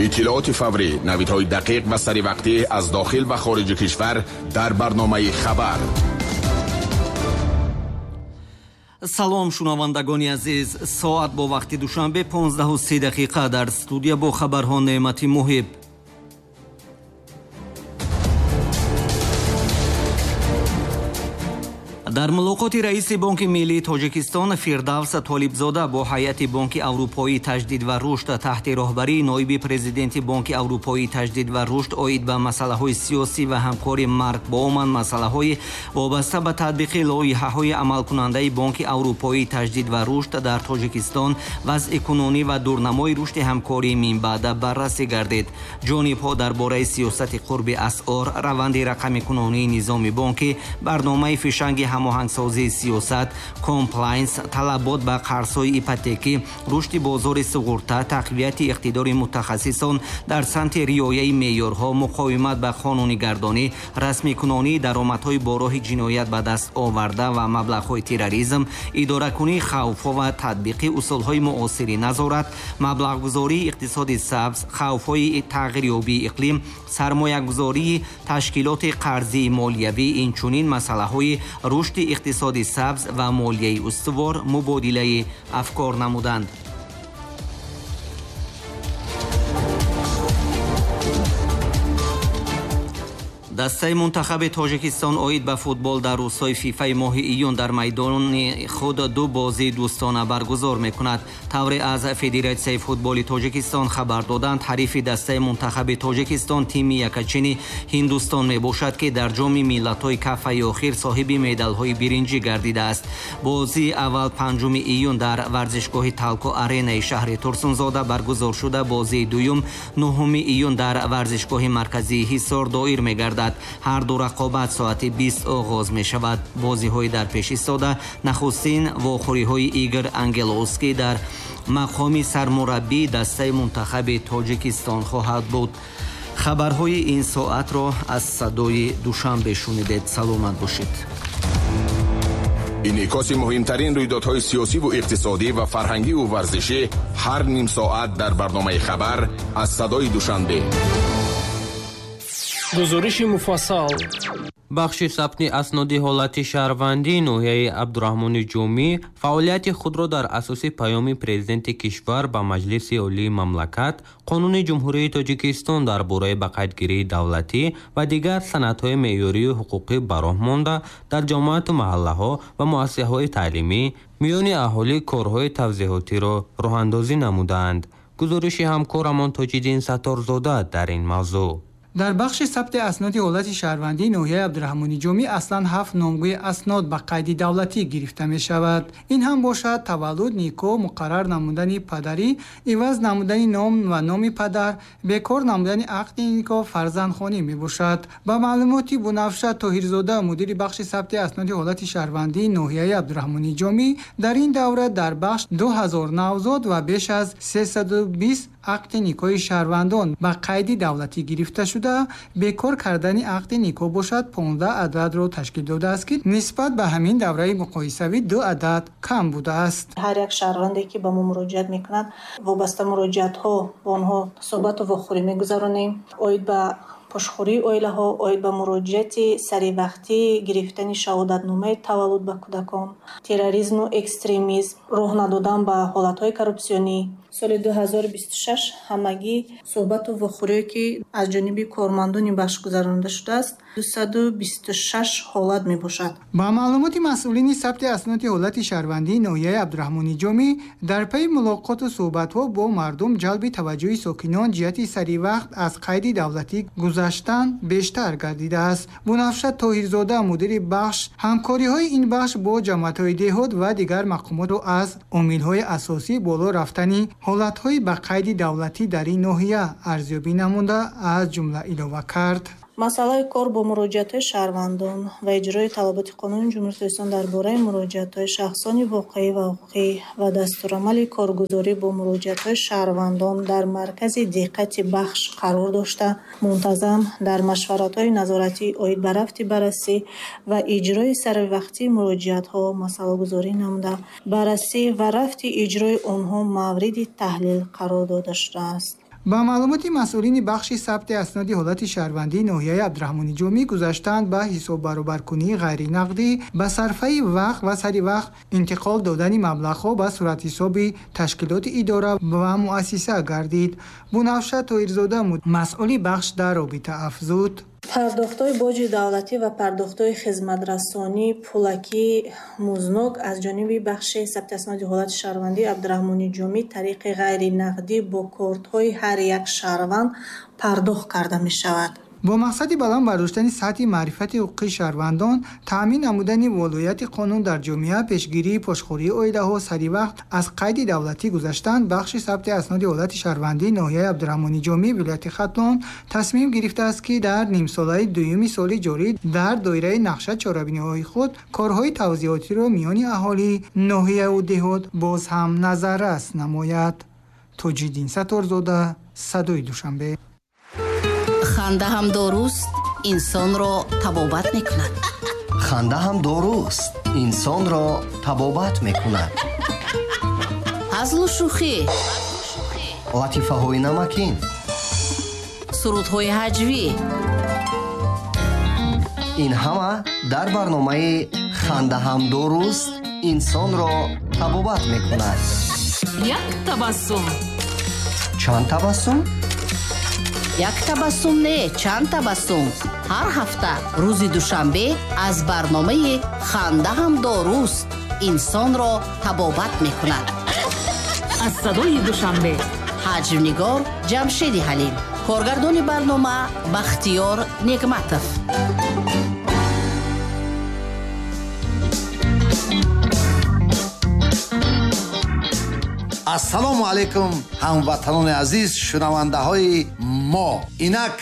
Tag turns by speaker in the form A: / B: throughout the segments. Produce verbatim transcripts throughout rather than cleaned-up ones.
A: Иттилооти фаврӣ, навидҳои дақиқ ва саривақтӣ аз дохил ва хориҷи кишвар дар барномаи хабар.
B: Салом, шунавандагони азиз. Соат бо вақти Душанбе понздаҳу се дақиқа. Дар студия бо хабарҳо Неъмати Муҳиб. Дар мулоқоти раиси Бонки Миллии Тоҷикистон Фирдавс Толибзода бо ҳайати Бонки Аврупоии Таҷдид ва Рушд таҳти роҳбарии ноиби президенти Бонки Аврупоии Таҷдид ва Рушд оид ба масъалаҳои сиёсӣ ва ҳамкори Марк Боуман масъалаҳои вобаста ба татбиқи лоиҳаҳои амалкунандаи Бонки Аврупоии Таҷдид ва Рушд дар Тоҷикистон, вазъи кунунӣ ва дурнамои рушди ҳамкории минбаъда баррасӣ гардид. Ҷонибҳо дар бораи сиёсати қурби асъор, раванди рақамикунонии низоми бонкӣ, барномаи фишанги ҳамоҳангсозии сиёсат, комплайнс, талабот ба қарзҳои ипотекӣ, рушди бозори суғурта, тақвияти иқтидори мутахассисон дар самти риояи меъёрҳо, муқовимат ба қонунигардонӣ, расмикунонии даромадҳои бо роҳи ҷиноят ба даст оварда ва маблағҳои терроризм, идоракунии хавфҳо ва татбиқи усулҳои муосири назорат, маблағгузории иқтисоди сабз, хавфҳои тағйирёбии иқлим, сармоягузории ташкилоти қарзии молиявӣ, инчунин масъалаҳои рушди иқтисоди сабз ва молияи устувор мубодилаи афкор намуданд. Дастаи мунтахаби Тоҷикистон оид ба футбол дар рӯзҳои фифаи моҳи июн дар майдони худ ду бозии дӯстона баргузор мекунад. Тавре аз Федератсияи футболи Тоҷикистон хабар доданд, ҳарифи дастаи мунтахаби Тоҷикистон тими якачини Ҳиндустон мебошад, ки дар ҷоми миллатҳои кафаи охир соҳиби медалҳои биринҷӣ гардидааст. Бозии аввал панҷуми июн дар варзишгоҳи Талко Аренаи шаҳри Турсунзода баргузор шуда, бозии дуюм нуҳуми июн дар варзишгоҳи марказии Ҳисор доир мегардад. Ҳар ду рақобат соати бист оғоз мешавад. Бозиҳои дар пеш истода нахустин вохӯриҳои Игор Ангеловский дар мақоми сармураббии дастаи мунтахаби Тоҷикистон хоҳад буд. Хабарҳои ин соатро аз садои Душанбе шунидед. Саломат бошед.
A: Инъикоси муҳимтарин рӯйдодҳои сиёсиву иқтисодӣ ва фарҳангиву варзишӣ ҳар ним соат дар барномаи хабар аз садои Душанбе.
C: Гузориши муфассал.
D: Бахши сабти асноди ҳолати шаҳрвандии ноҳияи Абдураҳмони Ҷомӣ фаъолияти худро дар асоси паёми президенти кишвар ба Маҷлиси Олии мамлакат, Қонуни Ҷумҳурии Тоҷикистон дар бораи ба қайдгирии давлатӣ ва дигар санадҳои меъёрию ҳуқуқӣ ба роҳ монда, дар ҷамоату маҳаллаҳо ва муассисаҳои таълимӣ миёни аҳолӣ корҳои тавзеҳотиро роҳандозӣ намудаанд. Гузориши ҳамкорамон Тоҷиддин Сатторзода дар ин мавзӯъ.
E: Дар бахши сабти асноди ҳолати шаҳрвандии ноҳияи Абдураҳмони Ҷомӣ аслан ҳафт номгӯи аснод ба қайди давлатӣ гирифта мешавад. Ин ҳам бошад таваллуд, никоҳ, муқаррар намудани падарӣ, иваз намудани ном ва номи падар, бекор намудани ақди никоҳ, фарзандхонӣ мебошад. Ба маълумоти Бунафша Тоҳирзода, мудири бахши сабти асноди ҳолати шаҳрвандии ноҳияи Абдураҳмони Ҷомӣ, дар ин давра дар бахш ду ҳазор навзод ва беш аз сесаду бист ақди никоҳи шаҳрвандон ба қайди давлатӣ гирифта шуда, бекор кардани ақди никоҳ бошад понздаҳ ададро ташкил додааст, ки нисбат ба ҳамин давраи муқоисавӣ ду адад кам будааст.
F: Ҳар як шаҳрванде ки ба мо муроҷиат мекунад, вобаста муроҷиатҳо бо онҳо суҳбату вохӯрӣ мегузаронем. Оид ба пошхӯрии оилаҳо, оид ба муроҷиати саривақтии гирифтани шаҳодатномаи таваллуд ба кӯдакон, терроризму экстремизм, роҳ надодан ба ҳолатҳои коррупсионӣ. Соли ду ҳазору бисту шаш ҳамагӣ суҳбату вохӯрие ки аз ҷониби кормандони бахш гузаронида шудааст, дусаду бисту шаш ҳолат мебошад.
E: Ба маълумоти масъулини сабти асноди ҳолати шаҳрвандии ноҳияи Абдураҳмони Ҷомӣ, дар пайи мулоқоту суҳбатҳо бо мардум ҷалби таваҷҷӯҳи сокинон ҷиҳати саривақт аз қайди давлатӣ гузаштан бештар гардидааст. Бунафша Тоҳирзода, мудири бахш, ҳамкориҳои ин бахш бо ҷамоатҳои деҳот ва дигар мақомотро аз омилҳои асосӣ боло рафтани ҳолатҳои ба қайди давлатӣ дар ин ноҳия арзёбӣ намуда, аз ҷумла илова кард.
F: Масъалаи кор бо муроҷиатҳои шаҳрвандон ва иҷрои талаботи қонуни Ҷумҳурии Тоҷикистон дар бораи муроҷиатҳои шахсони воқеӣ ва ҳуқуқӣ ва дастурамали коргузорӣ бо муроҷиатҳои шаҳрвандон дар маркази диққати бахш қарор дошта, мунтазам дар машваратҳои назоратӣ оид ба рафти баррасӣ ва иҷрои саривақтии муроҷиатҳо масъалагузорӣ намуда, баррасӣ ва рафти иҷрои онҳо мавриди таҳлил қарор дода шудааст.
E: Ба маълумоти масъулини бахши сабти асноди ҳолати шаҳрвандии ноҳияи Абдураҳмони Ҷомӣ гузаштанд ба ҳисоббаробаркунии ғайринақдӣ, ба сарфаи вақт ва сари вақт интиқол додани маблағҳо ба суратҳисоби ташкилоти идора ва муассиса гардид. Бунафша Тоирзода масъули бахш дар робита афзуд:
F: Пардохтҳои боҷи давлатӣ ва пардохтҳои хизматрасонии пулакӣ музнок аз ҷониби бахши сабти асноди ҳолати шаҳрвандии Абдураҳмони Ҷомӣ тариқи ғайринақдӣ бо кортҳои ҳар як шаҳрванд пардохт карда мешавад.
E: Бо мақсади баланд бардоштани сатҳи маърифати ҳуқуқии шаҳрвандон, таъмин намудани волояти қонун дар ҷомеа, пешгирии пошхӯрии оилаҳо, сари вақт аз қайди давлатӣ гузаштан, бахши сабти асноди ҳолати шаҳрвандии ноҳияи Абдураҳмони Ҷомӣ вилояти Хатлон тасмим гирифтааст, ки дар нимсолаи дуюми соли ҷорӣ дар доираи нақша чорабиниҳои худ корҳои тавзиҳотиро миёни аҳолии ноҳияву деҳот боз ҳам назаррас намояд. Тоҷиддин Сатторзода, Садои Душанбе.
C: Ханда ҳам доруст, инсонро табобат мекунад.
G: Ханда ҳам доруст, инсонро табобат мекунад.
C: Ҳазлу шӯхӣ,
G: латифаҳои намакин,
C: сурудҳои ҳаҷвӣ.
G: Ин ҳама дар барномаи ханда ҳам доруст, инсонро табобат мекунад.
H: Як табассум.
G: Чанд табассум?
C: Як табассум не, чанд табассум. Ҳар ҳафта рӯзи душанбе аз барномаи ханда ҳам доруст, инсонро табобат мекунад.
H: Аз садои Душанбе.
C: Ҳаҷвнигор Ҷамшеди Ҳалим, коргардони барнома Бахтиёр Негматов.
I: Ассалому алайкум, ҳамватанони азиз, шунавандаҳои мо. Инак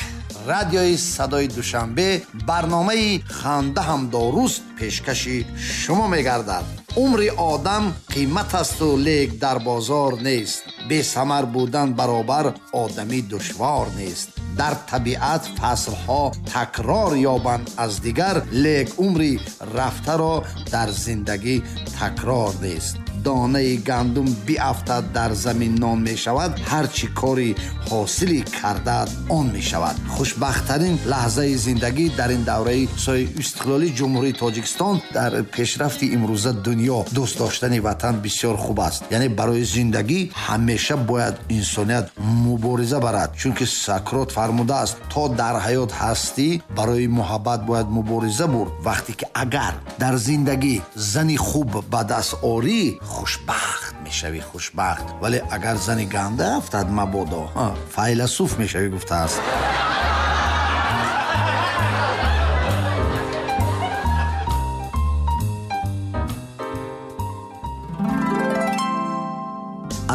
I: радиои Садои Душанбе барномаи ханда ҳам доруст пешкаши шумо мегардад. Умри одам қимат асту лек дар бозор нест. Бесамар будан баробар одамӣ душвор нест. Дар табиат фаслҳо такрор ёбанд аз дигар, лек умри рафтаро дар зиндагӣ такрор нест. Донаи гандум биафтад дар замин нон мешавад, ҳарчи кори ҳосилӣ кардад он мешавад. Хушбахттарин лаҳзаи зиндагӣ дар ин давраи сои истиқлолии Ҷумҳурии Тоҷикистон дар пешрафти имрӯза дунё дӯст доштани ватан бисёр хуб аст. Яъне барои зиндагӣ ҳамеша бояд инсоният мубориза барад, чунки Сократ фармудааст: то дар ҳаёт ҳастӣ барои муҳаббат бояд мубориза бурд. Вақте ки агар дар зиндагӣ зани хуб ба даст орӣ, хушбахт мешавӣ, хушбахт. Вале агар зани ганда афтад, мабодо файласуф мешавӣ, гуфтааст.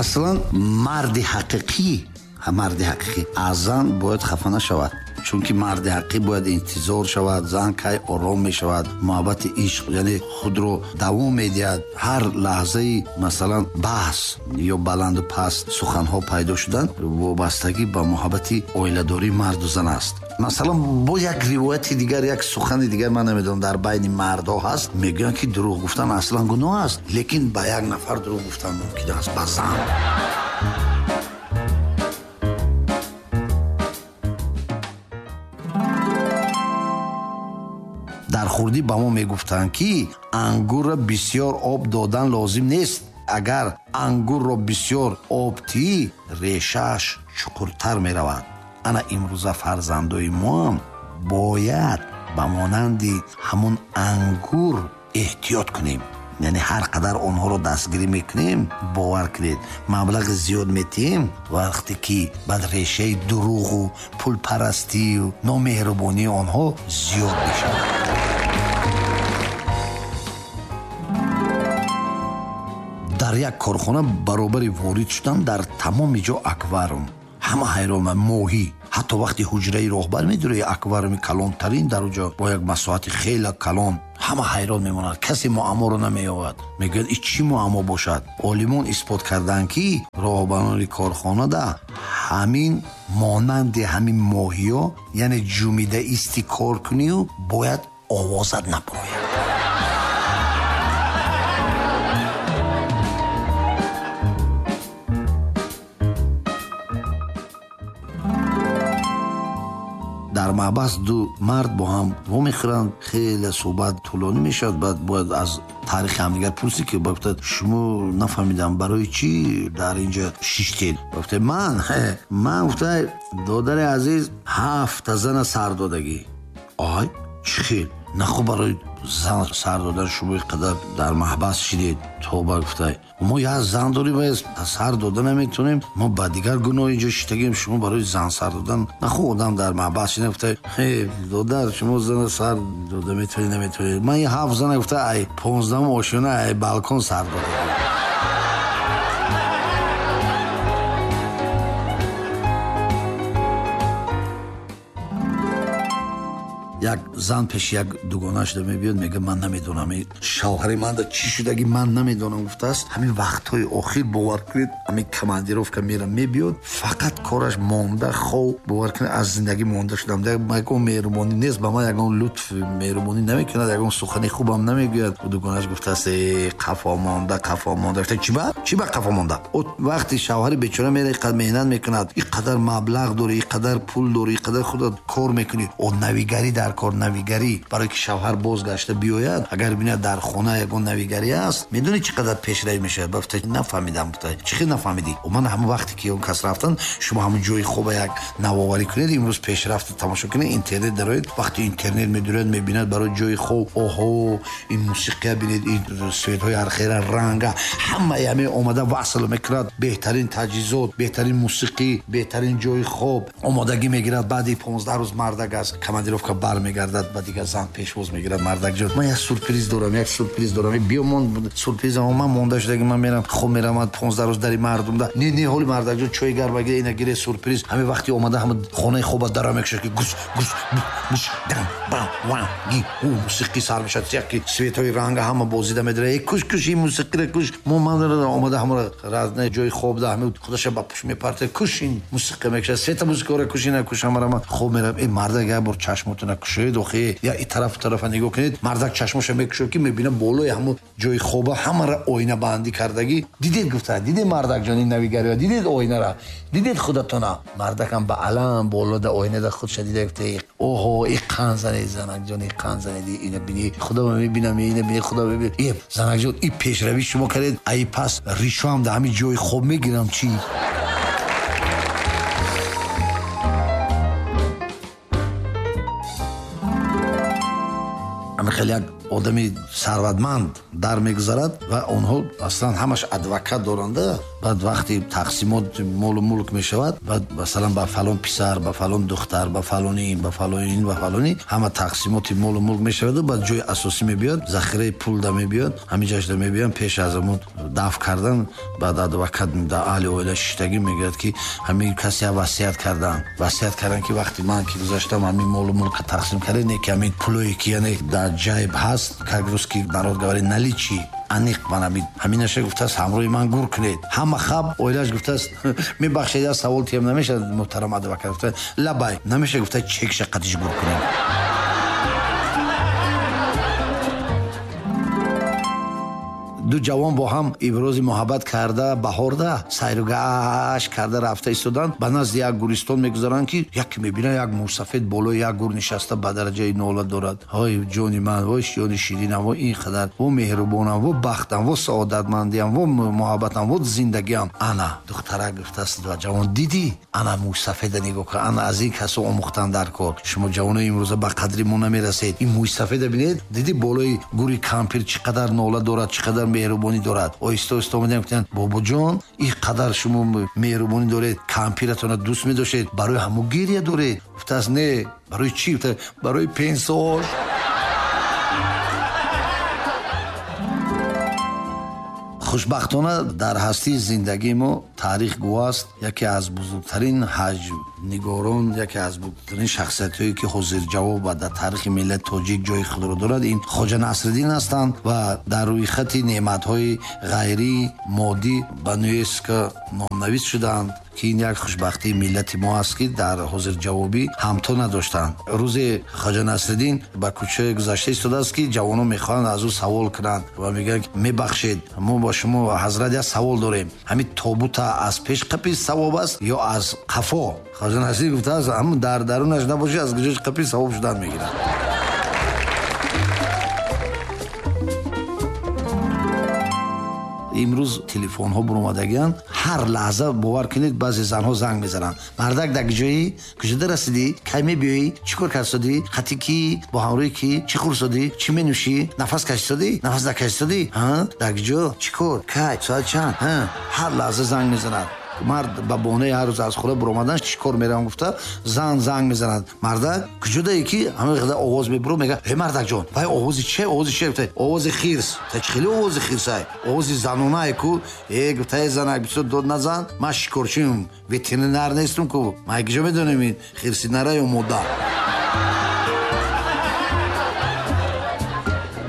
I: Аслан марди ҳақиқӣ, марди ҳақиқӣ аз зан бояд хафа нашавад, чунки марди ҳақиқӣ бояд интизор шавад, зан кай ором мешавад, муҳаббати ишқ яъне худро давом медиҳад. Ҳар лаҳзаи масалан баҳс ё баланду паст суханҳо пайдо шудан вобастагӣ ба муҳаббати оиладории марду зан аст. Масалан бо як ривояти дигар, як сухани дигар ман намедонам дар байни мардҳо ҳаст, мегӯянд ки дурӯғ гуфтан аслан гуноҳ аст, лекин ба як нафар дурӯғ гуфтан мумкин аст, ба зан. Дар хурдӣ ба мо мегуфтанд, ки ангурро бисёр об додан лозим нест. Агар ангурро бисёр об тӣ, решааш чуқуртар меравад. Ана имрӯза фарзандои моам бояд ба монанди ҳамон ангур эҳтиёт кунем. Яъне ҳар қадар онҳоро дастгирӣ мекунем, бовар кунед, маблағи зиёд метиҳем, вақте ки баъд решаи дурӯғу пулпарастию номеҳрубонии онҳо зиёд мешавад. Дар як корхона баробари ворид шудан дар тамоми ҷо аквариум. Ҳама ҳайрон, моҳӣ. Ҳатто вақти ҳуҷраи роҳбар медурӣ, аквариуми калонтарин дар он ҷо бо як масоҳати хеле калон, ҳама ҳайрон мемонад, касе муамморо намеёбад. Мегӯяд ин чӣ муаммо бошад? Олимон исбот карданд, ки роҳбарони корхонада ҳамин монанди ҳамин моҳиё, яъне ҷумида исти кор кунию бояд овозат набарояд. Дар маҳбас ду мард бо ҳам вомехӯранд, хеле суҳбат тӯлонӣ мешавад. Баъд бояд аз таърихи ҳамдигар пурсид, ки гуфтад шумо нафаҳмидам барои чӣ дар инҷо шиштед. Гуфта ман ман гуфта додари азиз ҳафта зана сар додагӣ. Ай чӣ хел нахо барои зан сар додан шумо инқадар дар маҳбас шидед? Тоба гуфта мо як зан дорем ва сар дода наметонем, мо ба дигар гуноҳ инҷо шиштагем, шумо барои зан сар додан нахо одам дар маҳбас шида. Гуфта додар шумо зана сар дода метавонед наметавонед, ман ин ҳафт зана гуфта ай понздаҳум ошёна ай балкон сар дода. Як зан пеши як дугонааш да мебиёд, мегӯяд ман намедонам шавҳари ман да чӣ шудаги, ман намедонам гуфтааст. Ҳамин вақтҳои охир бовар кунед ҳамин командировка мера мебиёд, фақат кораш монда хов, бовар кунед аз зиндагӣ монда шудам, ягон меҳрубонӣ нест ба ман, ягон лутф меҳрубонӣ намекунад, ягон сухани хубам намегӯяд. Дугонааш гуфтааст э қафо монда, қафо монда. Гуфта чӣ ба чӣ ба қафо монда? Вақти шавҳари бечора мера иқадар меҳнат мекунад, иқадар маблағ дорӣ, иқадар пул дорӣ, иқадар худат кор мекунӣ, о навигарӣ дар кор навигарӣ барои ки шавҳар бозгашта биёяд, агар бинад дар хона ягон навигарӣ аст, медонӣ чӣ қадар пешравӣ мешавад. Гуфта нафаҳмидам. Гуфта чӣ хел нафаҳмидӣ? Ман ҳамон вақте ки он кас рафтан, шумо ҳамон ҷои хоба як навоварӣ кунед, имрӯз пешрафта тамошо кунед, интернет дароед. Вақти интернет медуред, мебинад барои ҷои хоб, оҳо ин мусиқия бинед, ин светҳои ҳархела ранга, ҳамаи ҳамин омада васл мекунад, беҳтарин таҷҳизот, беҳтарин мусиқӣ, беҳтарин ҷои хоб омодагӣ мегирад. Баъди понздаҳ рӯз мардак аз командировка бармегардад, ба дигар зан пешвоз мегирад. Мардак ҷон ман як сюрприз дорам, як сюрприз дорам, биё мон сюрпризам, ман монда шудаги, ман мерам хоб мерам понздаҳ рӯз дари мардум да. Не не ҳоли мардак ҷон чой гарм гире, ина гире сюрприз. Ҳамин вақти омада ҳама хонаи хоба дара мекушад ки гус гус буш дам бам вам ги у мусиқӣ сар мешавад, яки светҳои ранга ҳама бозида медара, э куш куш ин мусиқиро куш. Мо ман омада ҳамаро разна ҷои хоб да ҳама худаша ба пуш мепарта, куш ин мусиқӣ мекушад, света мусиқиро куш, ина куш, ҳамаро ман хоб мерам. Э мардак як бор чашмотона кушоед, охи я и тараф тарафа нигоҳ кунед. Мардак чашмоша мекушод ки мебинад болои ҳамон ҷои хоба ҳамаро оинабандӣ кардагӣ. Дидед гуфта, дидед мардакҷон ин навигариро, дидед оинара, дидед худатона. Мардакам ба алам болода оинада худша дида, гуфта оҳо и қанд занед занакҷон, и қанд занед, ина бини худо мебинам, ина бини худо мебинам. Э занакҷон и пешравӣ шумо кардед, ай пас ришоам дар ҳамин ҷои хоб мегирам чӣ? Хеле як одами сарватманд дар мегузарад ва онҳо аслан ҳамаш адвокат доранда. Баъд вақти тақсимот молу мулк мешавад, баъд масалан ба фалон писар, ба фалон духтар, ба фалони ин, ба фалони ин, ба фалони ҳама тақсимоти молу мулк мешаваду баъд ҷои асосӣ мебиёд, захираи пул да мебиёд, ҳамин ҷашда мебиён пеш аз ҳамон даф кардан. Баъд адвокат да аҳли оила шиштагӣ мегӯяд ки ҳамин касе васият кардан, васият кардан ки вақти ман ки гузаштам ҳамин молу мулка тақсим кардем, не ки ҳамин пулое ки яъне дар ҷайб ҳаст, как русский народ говорит, наличии аниқ ман ҳамин ҳаминаша гуфтааст ҳамроҳи ман гур кунед. Ҳама хаб оилааш гуфтааст мебахшед, як савол тиям намешавад муҳтарам адвокат, гуфта лабай намеша, гуфта чекша қадиш гур кунем. Ду ҷавон бо ҳам ибрози муҳаббат карда баҳорда сайругашт карда рафта истоданд. Ба назди як гӯристон мегузаранд ки яке мебинад як мӯйсафед болои як гӯр нишаста ба дараҷаи нола дорад. Ҳой ҷони ман, вой ҷони ширинам, во ин қадар, во меҳрубонам, во бахтам, во саодатмандиам, во муҳаббатам, во зиндагиам. Ана духтарак гуфтааст ва ҷавон дидӣ, ана мӯйсафеда нигоҳ кун, ана аз ин касо омӯхтан дар кор. Шумо ҷавонои имрӯза ба қадри мо намерасед. Ин мӯйсафеда бинед, дидӣ болои гӯри кампир чӣ қадар нола дорад, чӣ қадар меҳрубонӣ дорад. Оҳиста оҳиста омадем, гуфтанд бобоҷон ин қадар шумо меҳрубонӣ доред, кампиратонро дӯст медоштед, барои ҳамон гиря доред? Гуфтааст не, барои чӣ? Гуфта барои пенсош. Хушбахтона дар ҳастии зиндагии мо таърих гувоҳ аст, яке аз бузургтарин ҳаҷвнигорон, яке аз бузургтарин шахсиятҳое ки ҳозирҷавоб ва дар таърихи миллати тоҷик ҷои худро дорад, ин Хоҷа Насриддин ҳастанд ва дар рӯйхати неъматҳои ғайрии моддӣ ба ЮНЕСКО номнавис шудаанд. Ки ин як хушбахтии миллати мо аст, ки дар ҳозирҷавобӣ ҳамто надоштанд. Рӯзе Хоҷа Насриддин ба кӯча гузашта истодааст, ки ҷавонон мехоҳанд аз ӯ савол кунанд ва мегӯянд: мебахшед, мо бо шумо ҳазрат як савол дорем. Ҳамин тобута аз пеш қапи савоб аст ё аз қафо? Хоҷа Насриддин гуфтааст: ҳамн дар дарунаш набошӣ, аз куҷош қапи савоб шудан мегирад. Имрӯз телефонҳо буромадагианд, ҳар лаҳза бовар кунед, баъзе занҳо занг мезананд: мардак, дар куҷоӣ? Куҷода расидӣ? Кай мебиёӣ? Чӣ кор кардсодӣ? Хати кӣ? Бо ҳамроҳи кӣ? Чӣ хӯрсодӣ? Чӣ менӯшӣ? Нафас кашисодӣ? Нафас накашисодӣ? Дар куҷо? Чӣ кор? Кай? Соат чанд? Ҳар лаҳза занг мезанад. Мард ба бонаи ҳар рӯз аз хона буромадан чӣ кор меравам гуфта, зан занг мезанад: мардак, куҷодае? Ки ҳамин қадар овоз мебурад, мегӯяд: э мардакҷон, вай овози че? Овози че? Гуфта: овози хирс. Та чӣ хеле овози хирсай? Овози занонае ку. Э гуфта: э занак, бисёр дод назан, ман шикорчиам, ветеринар нестам ку, ман куҷо медонам ин хирси нара ё мода.